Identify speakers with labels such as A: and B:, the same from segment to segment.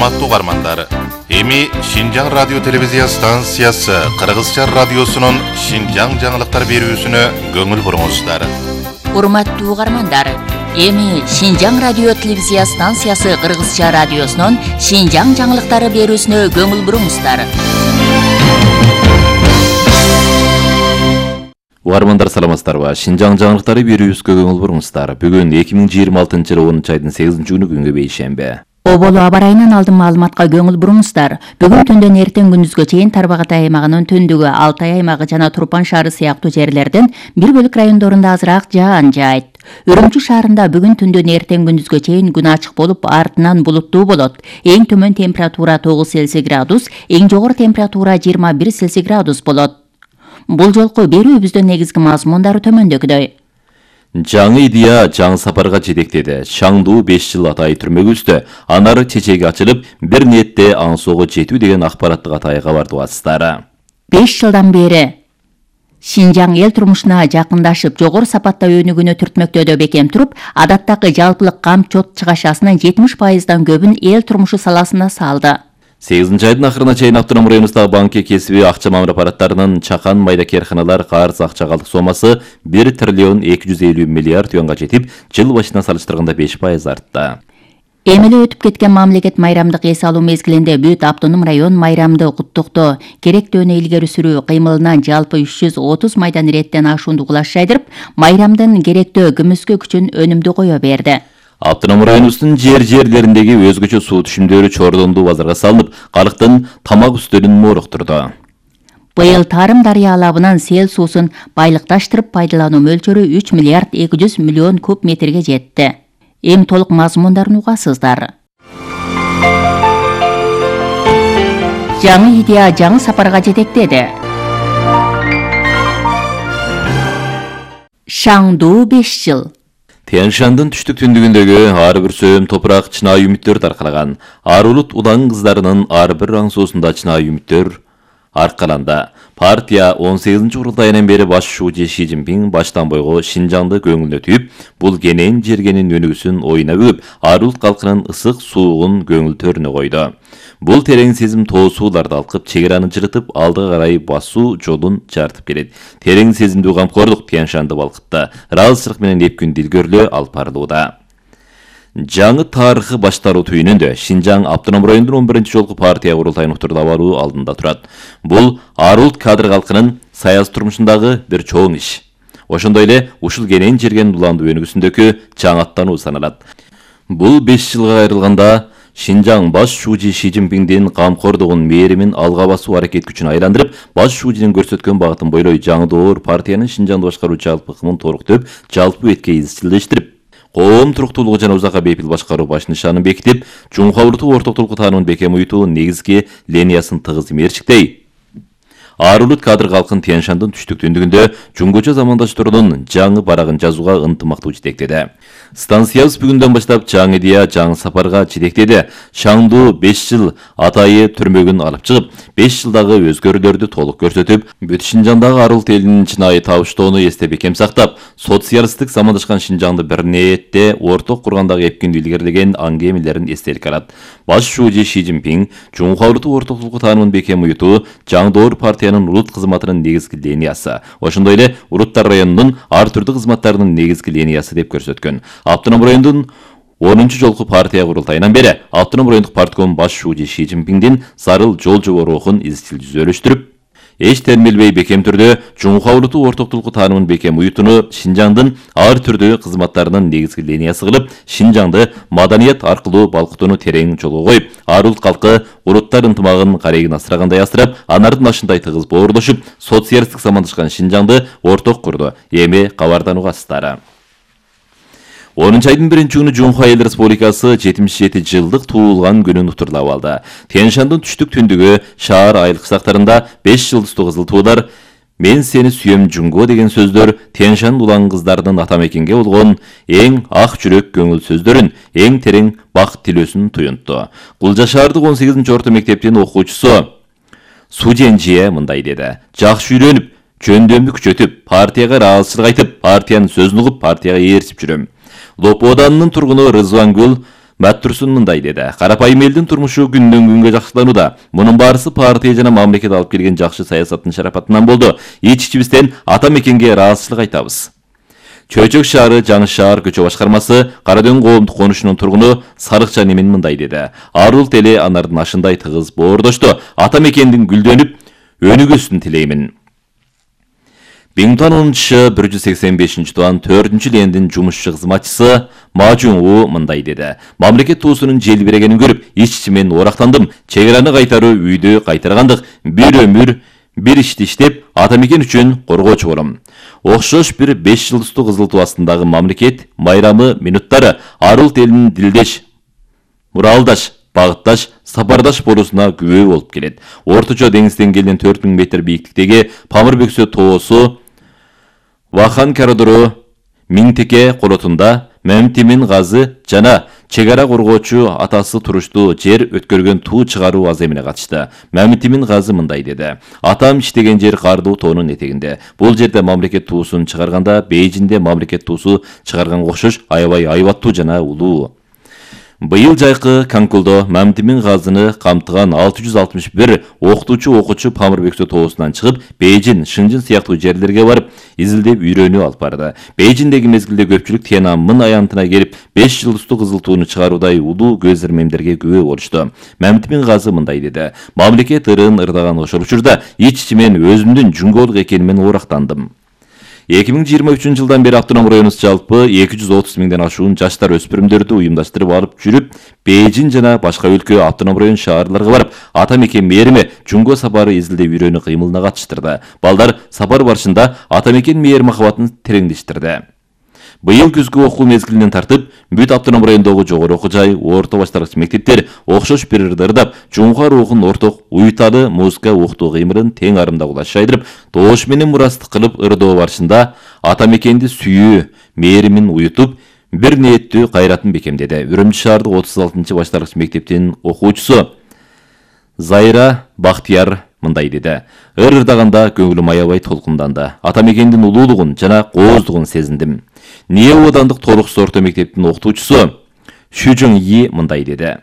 A: Урматтуу угармандар, эми Шинжаң радио телевизия станциясы Кыргызча радиосунун Шинжаң жаңылыктар берүүсүнө көңүл буруңуздар.
B: Урматтуу угармандар, эми Шинжаң радио телевизия станциясы Кыргызча радиосунун Шинжаң жаңылыктары берүүсүнө көңүл буруңуздар.
C: Угармандар саламатсыздарбы? Шинжаң жаңылыктары берүүсүнө көңүл буруңуздар. Бүгүн 2026-жылы 10 айдын 8-күнү күнгө бейшемби.
B: Оболу аба ырайынан алдын маалыматка көңүл буруңуздар. Бүгүн түндөн эртең күндүзгө чейин Тарбагатай аймагынын түндүгү, Алтай аймагы жана Турпан шаары сыяктуу жерлерден бир бөлүк райондорунда азыраак жаан жаайт. Үрүмчү шаарында бүгүн түндөн эртең күндүзгө чейин күн ачык болуп, артынан булуттуу болот. Эң төмөн температура 9 Цельсий градус, эң жогору температура 21 Цельсий градус болот. Бул жолку берүүбүздүн негизги мазмундары төмөндөгүдөй.
C: Жаңы идея жаңы сапарга жетектеди. Шаңдуу 5 жыл атайы түрмөгө түштү. Анары чечеги ачылып, бир ниетте аңсоого жетүү деген акпараттык атайга барды атыстары. 5
B: жылдан бери Шинжаң эл турмушуна жакындашып, жогору сапатта өнүгүүнү түртмөктөдө бекем туруп, адаттагы жалпылык камчот чыгашасынын 70%дан көбүн эл турмушу саласына салды.
C: 8 айдын акырына чейин автоном районундагы банки кесиби акча мамыр аппараттарынын чакан майда керканалар карыз акча калдык сомасы 1 триллион 250 миллиард юанга жетип, жыл башынан салыштырганда 5% артты.
B: Эмеле өтүп кеткен мамлекет майрамдык эс алуу мезгилинде бүт автоном район майрамды куттуктоо, керектөөнү илгери сүрүү кыймылынан жалпы 330 майдан реттен ашууну кулаш жайдырып, майрамдын керектөө күмүскө күчүн өнүмдүү кое берди.
C: Автоном районубуздун жерлериндеги өзгөчө суу түшүмдөрү чордондуу базарга салынып, калктын тамак үстөлүн мооруктурду.
B: Быйыл Тарым дарыя алабынан сел суусун байлыкташтырып пайдалануу мөлчөрү 3 миллиард 200 миллион куб метрге жетти. Эми толук мазмундарын угасыздар. Жаңы идея жаңы сапарга жетектеди. Шаңдуу 5 жыл.
C: Тянь-Шандын түштүк түндүгүндөгү ар бир сөйөм топурак чынайы үмүттөр таркалаган. Ар улут улан кыздарынын ар бир аңсоосунда чынайы үмүттөр аркаланды. Партия 18 курултайынан бери баш шүүчү Ши Цзиньпин баштан бойго Шинжаңды көңүлүнө түйүп, бул кенен жергенин өнүгүүсүн оюна бүгүп, ар улут калкынын ысык суугун көңүлтөрүнө койду. Бул терең сезим тоо сууларды алкып, чегераны жырытып, алдыга карай басуу жолун жартып келет. Терең сезимдүү камкордук Тянь-Шанды балкытты. Ыраазычылык менен эпкүн дилгөрлөө алып барылууда. Жаңы тарыхы баштаруу түйүнүндө Шинжаң автоном районунун 11-ci жолку партия курултайын уктурда баруу алдында турат. Бул ар улут кадр калкынын саясий турмушундагы бир чоң иш. Ошондой эле ушул кенен жерген уландуу өнүгүүсүндөгү жаңаттануу саналат. Бул 5 жылга айрылганда Шинжаң баш шүүчү Ши Цзиньпиндин камкордугун, мээримин алга басуу аракет күчүн айландырып, баш шүүчүнүн көрсөткөн багытын бойлой жаңы доор партиянын Шинжаңды башкаруу жалпы ыкмын толуктоп, жалпы бетке изчилдештирип, коом туруктуулугу жана узакка бейпил башкаруу баш нышанын бекитип, чуңкай улуттук ортоктулукку таануун бекем уютуунун негизги линиясын тыгыз мерчиктей. Ар улут кадр калкын Тянь-Шандын түштүк түндүгүндө жуңгуча замандаштарынын жаңы барагын жазууга ынтымактуу жетектеди. Станциябыз бүгүндөн баштап жаңы идея жаңы сапарга жетектеди. Шаңдуу 5 жыл атайы түрмөгүн алып чыгып, 5 жылдагы өзгөрүүлөрдү толук көрсөтүп, бүт Шинжаңдагы ар улут элинин чынайы табыштоону эсте бекем сактап, социалисттик замандашкан Шинжаңды бир ниетте орток кургандагы эпкин илгерилеген аңгемелерин эстеликке алат. Баш шүүчү Ши Цзиньпин чуңкай улуттук ортоктулукку таануун бекем уютуу жаңы доор партиянын улут кызматынын негизги линиясы, ошондой эле улуттар районунун ар түрдүү кызматтарынын негизги линиясы деп көрсөткөн. Автоном райондун 10-ci жолку партия курултайынан бери автоном райондук партком баш шүүчү Ши Цзиньпиндин зарыл жол жобо рухун изчил түзөлүштүрүп, эч термелбей бекем түрдө чуңкай улуттук ортоктулукку таануун бекем уютууну Шинжаңдын ар түрдүү кызматтарынын негизги линиясы кылып, Шинжаңды маданият аркылуу балкытууну терең жолго коюп, ар улут калкы улуттар ынтымагын карегин асырагандай асырап, анардын ашындай тыгыз боорлошуп, социалисттик замандашкан Шинжаңды орток курду. Эми кабардан угасыздар. 10 айдын 1-күнү Жумхай Эл Республикасы 77 жылдык туулган күнүн уктурлап алды. Тянь-Шандын түштүк түндүгү шаар айылык сактарында 5 жылдыздуу кызыл туулар «Мен сени сүйөм Жунго» деген сөздөр Тянь-Шанд улан кыздарынын ата мекенге болгон эң ак жүрөк көңүл сөздөрүн, эң терең бакыт тилөөсүн туюнтту. Кулжа шаардык 18 орто мектептин окуучусу Суденжие мындай деди: «Жакшы үйрөнүп, жөндөмдү күчөтүп, партияга ыраазычылык айтып, партиянын сөзүн угуп, партияга ээрчип жүрөм. Лопо ауданынын тургуну Рызвангүл Баттурсун мындай деди. Карапайым элдин турмушу күндөн күнгө жакшыланууда. Мунун баарысы партия жана мамлекет алып келген жакшы саясаттын шарапатынан болду. Ич-ичибизден ата мекенге ыраазычылык айтабыз. Чөйчөк шаары Жаңы шаар көчө башкармасы Карадөң коомдук конушунун тургуну Сарыкча Немин мындай деди. Арулт эли анардын ашындай тыгыз боордошту. Ата мекендин гүлдөнүп өнүгүүсүн тилеймин. Биңтан 185 туан 4-чү лендин жумушчу кызматчысы Мажун У мындай деди. Мамлекет туусунун желбирегенин көрүп, ич-ичимен орактандым. Чегераны кайтаруу үйдү кайтаргандык. Бир өмүр, бир ишти иштеп, ата мекен үчүн коргоочу болом. Окшош бир 5 жылдыздуу кызыл туу астындагы мамлекет майрамы минуттары Арулт элинин дилдеш, муралдаш, багытташ, сапардаш болуусуна күбө болуп келет. Орточо деңиз деңгээлинен 4000 метр бийиктиктеги Памырбөксө тоосу Вахан коридору Миңтеке колотунда Мемтимин газы жана чегара коргоочу атасы туруштуу жер өткөргөн туу чыгаруу аземине катышты. Мемтимин газы мындай деди. Атам иштеген жер кардуу тоонун этегинде. Бул жерде мамлекет туусун чыгарганда Бейжинде мамлекет туусу чыгарганга окшош аябай айбаттуу жана улуу. Быйыл жайкы Канкулдо Мемтимин газыны камтыган 661 окутуучу Памырбөксө тоосунан чыгып, Бейжин, Шыңжын сыяктуу жерлерге барып, изилдеп үйрөнүү алып барды. Бейжиндеги мезгилде көпчүлүк Тиананмын аянтына келип, 5 жылдыздуу кызыл тууну чыгаруудай улуу көз ирмемдерге күбө болушту. Мемтимин газы мындай деди. Мамлекет ырын ырдаган ошол учурда ич-ичимен өзүмдүн жүңгөлүк экенимен орактандым. 2023 жылдан бери автоном районубуз жалпы 230 миңден ашуун жаштар өспүрүмдөрдү уюмдаштырып алып жүрүп, Бейжин жана башка өлкө автоном район шаарларга барып, ата мекен мээриме жуңго сапары изилдеп үйрөнүү кыймылына катыштырды. Балдар сапар барышында ата мекен мээр махабатын тереңдештирди. Быйыл күзгү окуу мезгилинен тартып, бүт автоном райондогу жогору окуу жай, орто баштаргыч мектептер окшош бир ырдап, жуңга рухун орток уюталы музыка окутуу кыймылын тең арымда кулаш жайдырып, доош менен мурастык кылып ырдоо барышында ата мекенди сүйүү, мээримин уютуп, бир ниеттүү кайратын бекемдеди. Үрүмчү шаардык 36-чы баштаргыч мектептин окуучусу Зайра Бактияр мындай деди. Ырдаганда көңүлүм аябай толкунданды. Ата мекендин улуулугун жана кооздугун сезиндим. Ниэ Одандык толуксуз орто мектептин окутуучусу Шүжүң И мындай деди.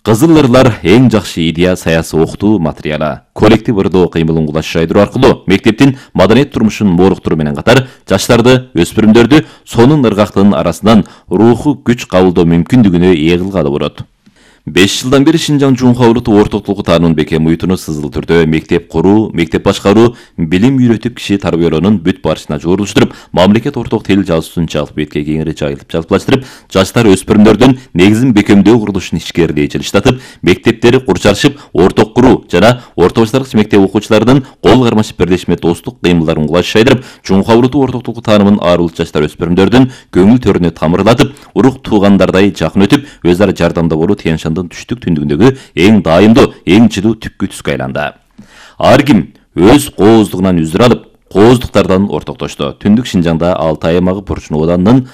C: Кызыл ырлар эң жакшы идея саясий окутуу материалы. Коллектив ырдоо кыймылын кулаш жайдыруу аркылуу мектептин маданият турмушун мооруктуруу менен катар жаштарды, өспүрүмдөрдү сонун ыргактын арасынан руху күч кабылдоо мүмкүндүгүнө ээ кылгалы болот. 5 жылдан бери Шинжаң Жумха улуттук ортоктугу таануу бекем уютуну сызыл түрдө мектеп куруу, мектеп башкаруу, билим үйрөтүп киши тарбиялоонун бүт барышына жорулуштуруп, мамлекет орток тил жазуусун жалпы бетке кеңири жайылтып жалпылаштырып, жаштар өспүрүмдөрдүн негизин бекемдөө курулушун ишкерлей жылыштатып, мектептери курчарышып, орток куруу жана орто баштаргыч мектеп окуучуларынын кол кармашып бирлешме достук кыймылдарын кулаш жайдырып, Жумха улуттук ортоктугу таанымын арулут жаштар өспүрүмдөрдүн көңүл төрүнө тамырлатып, урук туугандардай жакын өтүп, өз ара жардамда болуу түштүк түндүгүндөгү эң дайымдуу, эң жылуу түпкү түскө айланды. Ар ким өз кооздугунан үзүр алып, кооздуктардан ортоктошту. Түндүк Шинжаңда Алтай аймагы Бурчун Оданынын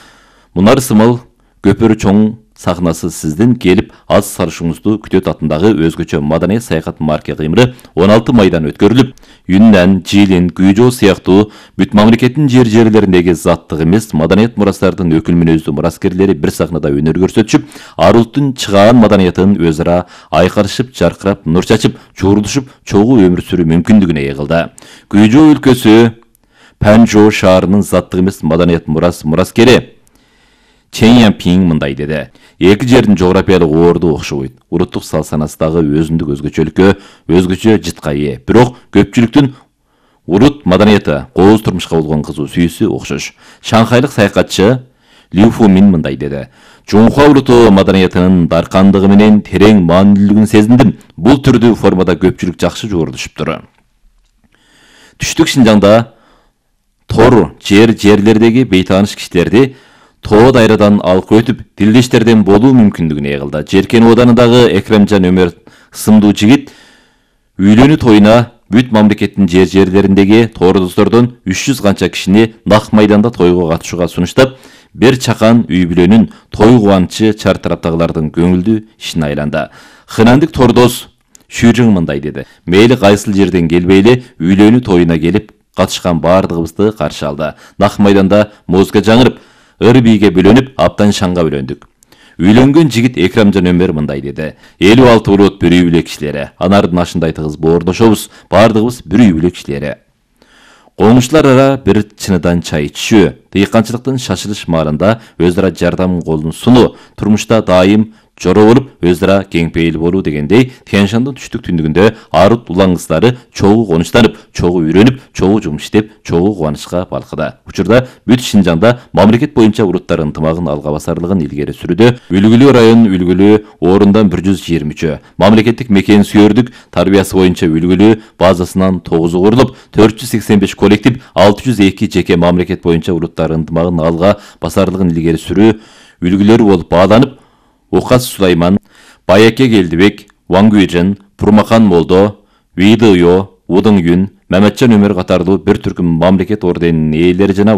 C: Мунар сымал көпөрү чоң сахнасы сиздин келип аз сарышыңызды күтөт атындагы өзгөчө маданий саякат марке кыймыры 16 майдан өткөрүлүп, Юннан, Жилин, Күйжо сыяктуу бүт мамлекеттин жерлериндеги заттык эмес маданият мурастардын өкүл мүнөздүү мураскерлери бир сахнада өнөр көрсөтүшүп, арулуттун чыгаан маданиятын өз ара айкарышып, жаркырап, нур чачып, жуурулушуп, чогуу өмүр сүрүү мүмкүндүгүнө ээ кылды. Күйжо өлкөсү Панжо шаарынын заттык эмес маданият мураскери Чен Янпинг мындай деди. Эки жердин жографиялык орду окшобойт. Улуттук салт-санасындагы өзүндүк өзгөчөлүккө, өзгөчө жытка ээ. Бирок көпчүлүктүн улут маданияты, кооз турмушка болгон кызуу сүйүүсү окшош. Шанхайлык саякатчы Лю Фумин мындай деди. Жумха улуттуу маданиятынын даркандыгы менен терең маанилүүлүгүн сезиндим. Бул түрдүү формада көпчүлүк жакшы жуурулушуптур. Түштүк Шинжаңда тор жерлердеги бейтааныш кишилерди тоо дайрадан алып өтүп, тилдештерден болуу мүмкүндүгүнө ээ кылды. Жеркен Оданындагы Экремжан Өмөр сымдуу жигит үйлөнүү тоюна бүт мамлекеттин жерлериндеги тоордоздордон 300 канча кишини нак майданда тойго катышууга сунуштап, бир чакан үй бүлөнүн той кубанычы чар тараптагылардын көңүлдүү ишине айланды. Хынандык тордоз Шүжүң мындай деди. Мейли кайсыл жерден келбейли үйлөнүү тоюна келип катышкан баардыгыбызды каршы алды. Нак майданда музыка жаңырып, ыр бийге бөлөнүп, аптан шаңга бөлөндүк. Үйлөнгөн жигит Экрамжан Өмөр мындай деди. 56 урут бір үй бүлө кишилери. Анардын ашындай тыгыз боордошобуз. Бардыгыбыз бір үй бүлө кишилери. Коңуштар ара bir чыныдан чай ичүү, дыйканчылыктын шашылыш маарында өз ара жардам колун сунуу, турмушта дайым жора болуп, өз ара кең пейил болуу дегендей, Тянь-Шандын түштүк түндүгүндө арут улан кыздары чогуу конуштанып, чогуу үйрөнүп, чогуу жумуш иштеп, чогуу кубанычка балкыда. Учурда бүт Шинжаңда мамлекет боюнча уруттар ынтымагын алга басарлыгын илгери сүрүүдө. Үлгүлүү район үлгүлүү орундан 123, мамлекеттик мекен сүйөрдүк тарбиясы боюнча үлгүлүү базасынан 9 курулуп, 485 коллектив, 602 жеке мамлекет боюнча уруттар ынтымагын алга басарлыгын илгери сүрүү үлгүлөрү болуп бааланып, Окас Сулайман, Байаке Келдибек, Вангуйжан, Пурмахан Молдо, Видыйо, Удың Юн, Маматжан Өмөр катарлуу bir түркүм мамлекет орденинин ээлери жана